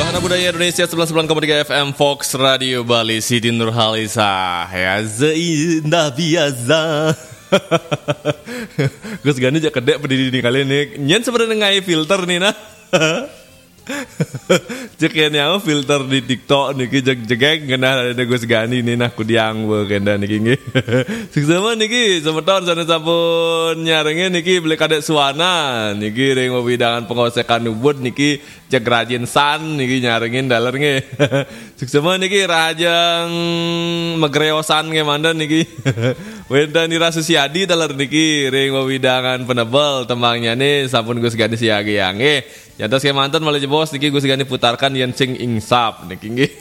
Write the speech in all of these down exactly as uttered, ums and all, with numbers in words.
Wahana Budaya Indonesia sembilan puluh sembilan koma tiga F M Fox Radio Bali, Siti Nurhaliza. Ya, seindah biasa. Gus Gani jak kedek berdiri di kali ni. Nyen sebenarnya ngai filter ni nah. Cek ya nyawa filter di TikTok niki jeg jegeg genah ada Gus Gani ni nah kudiang be kenda niki nggih. Suksema niki semeton sana sampun nyarengin niki beli kadek suana niki ring wewidangan pengosekan ubud niki jeg rajin san niki nyarengin daler nggih. Suksema niki rajeng megreosan nggih manten niki. Wenten Ira Susiadi daler niki ring wewidangan penebel tembangnya ni sampun Gus Gani siagi ya nggih. Nyantos kemanten malih jebos niki Gus Gani putarkan yen sing ingsap niki nggih.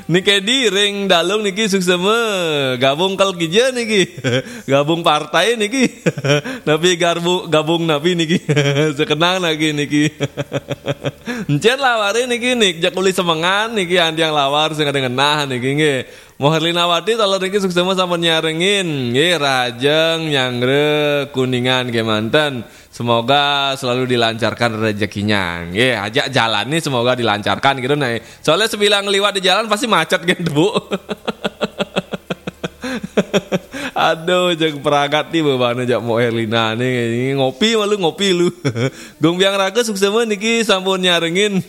Niki di ring dalung niki suksema gabung kal kija niki. Gabung partai niki. Napi garbu gabung napi niki. Sekenang lagi niki. Encen laware niki nik jak uli semengan niki antiang lawar sing ada ngenah niki nggih. Moh Herlinawati taler niki suksema sampun nyarengin. Nggih, rajeng nyanggra Kuningan kemanten. Semoga selalu dilancarkan rezekinya. Nggih, ajak jalan nih semoga dilancarkan gitu nah. Soalnya sebilang liwat di jalan pasti macet gitu, Bu. Aduh, jeg peragat nih bebana jak Mo Herlina nih. Ngopi malu ngopi lu. Gung Biang Raga suksema niki sampun nyarengin.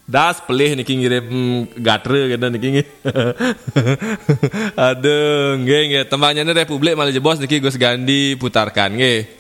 Das pelih niki ngirim gatre gitu niki nggih. Aduh, nggih nggih. Tembangnya Republik malih jebos niki Gus Gandi putarkan nggih.